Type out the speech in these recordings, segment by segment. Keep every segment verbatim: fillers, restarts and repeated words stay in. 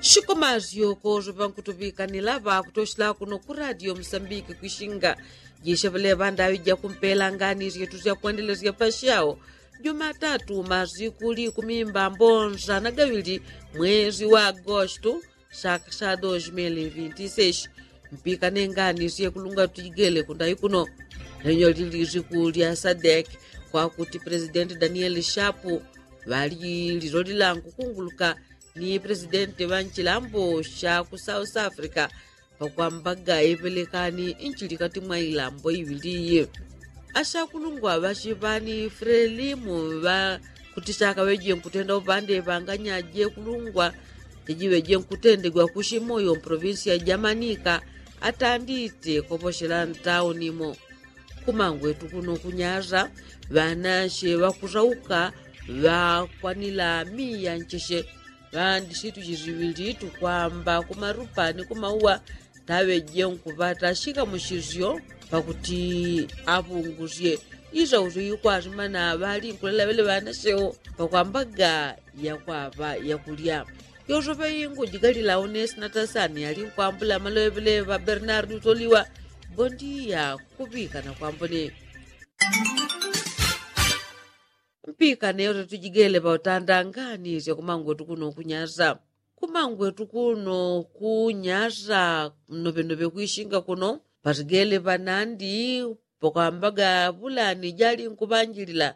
Shikomazi yokozo ŵankutuŵikanila ŵakutoshela kuno ku radio musambiki kwishinga. Jisheŵele ŵandaŵi jakumpela ngani syetu syakwendelesya pashao. Jumatatu mazi kuli kumimba mbonza na gaŵili mwezi wa agostu, saka sha dos mil vinti seis. Mpikane ngani syekulunga tujigele kundayi kuno. Lenyo lili ziku lya sadek kwakuti presidenti danieli shapu ŵali lilolila nkukunguluka ni presidenti ŵa nchilambo sha ku south africa, pakwambaga ipelekani nchili kati mwa ilambo iŵili iyi. Ashakulungwa ŵachiŵani frelimu ŵa kuti shakaŵeje nkutenda upande ŵanganyaje kulungwa. Jajiŵeje nkutendegwa kushimoyo mprovinsi ya jamanika atandite koposhela ntaunimo. Kumangwetu kuno kunyasa ŵanashe ŵakusauka ŵakwanila miya ncheshe ŵandishitu jisiŵilitu kwamba kumarupa ni kumauwa. Taŵeje nkuŵata shikamushisyo pakuti aŵungusye isausyo ikwazimana ŵalinkulela ŵele ŵanashewo pakwambaga yakwaŵa yakulya. Yosope ingu jigalila unesi na tasani alinkwambula maloŵele ŵa bernardi utoliwa. Bondiya kuŵika na kwambone. Mpikane yote tujigele ŵautanda ngani sya kumangwetu kuno kunyasa. Kumangwetu kuno kunyasa mnopenope kwishinga kuno patigele ŵanandi pakwambaga ŵulani jalinkuŵanjilila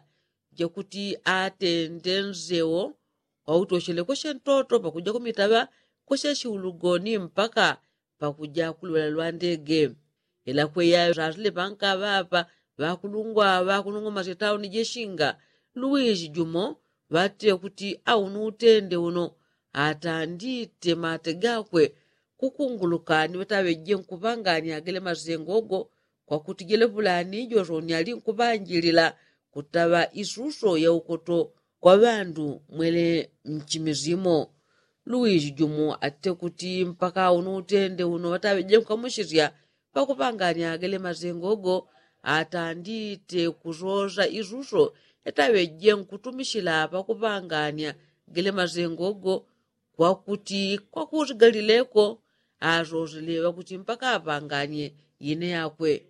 jakuti atende nsewo wautoshele kweshe ntoto pakuja kumitaŵa kweshe shiulugoni mpaka pakuja kulwela lwa ndege. Ila kweya ŵazile ŵankaŵaŵa ŵakulungwa ŵakunung'omasya tauni jeshinga luwisi jumo ŵatile kuti aunu utende uno atandite mate gakwe kukunguluka ni ŵataŵeje nkuŵangania gele masengo go. Kwakuti jele ŵulani josoni alinkuŵanjilila kutaŵa isuso ya ukoto kwa ŵandu mwele mchimizimo. Luwisi jumo atite kuti mpaka aunu utende uno ŵataŵeje nkukamushisya pakuŵangania gele masengo go atandite kusosa isuso yataŵeje nkutumishila pakuŵangania gele masengo go. Kwakuti kwakusigalileko asoseleŵa kuti mpaka apanganye ine yakwe.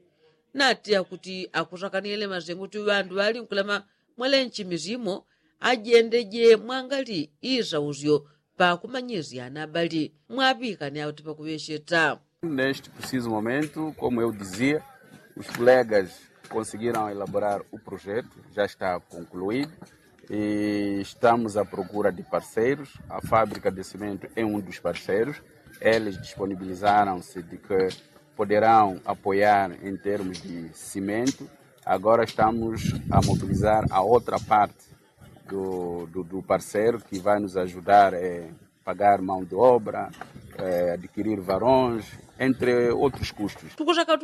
Nati akuti akusakanile masengo kuti ŵandu ŵalinkulema mwele nchimizimo ajendeje mwangali isausyo pakumanyisya na ŵali mwaŵikane akuti pakuŵesheta. Neste preciso momento, como eu dizia, os colegas conseguiram elaborar o projeto, já está concluído. E estamos à procura de parceiros. A fábrica de cimento é um dos parceiros. Eles disponibilizaram-se de que poderão apoiar em termos de cimento. Agora estamos a mobilizar a outra parte do, do, do parceiro que vai nos ajudar a pagar mão de obra, adquirir varões, entre outros custos. Tukusaka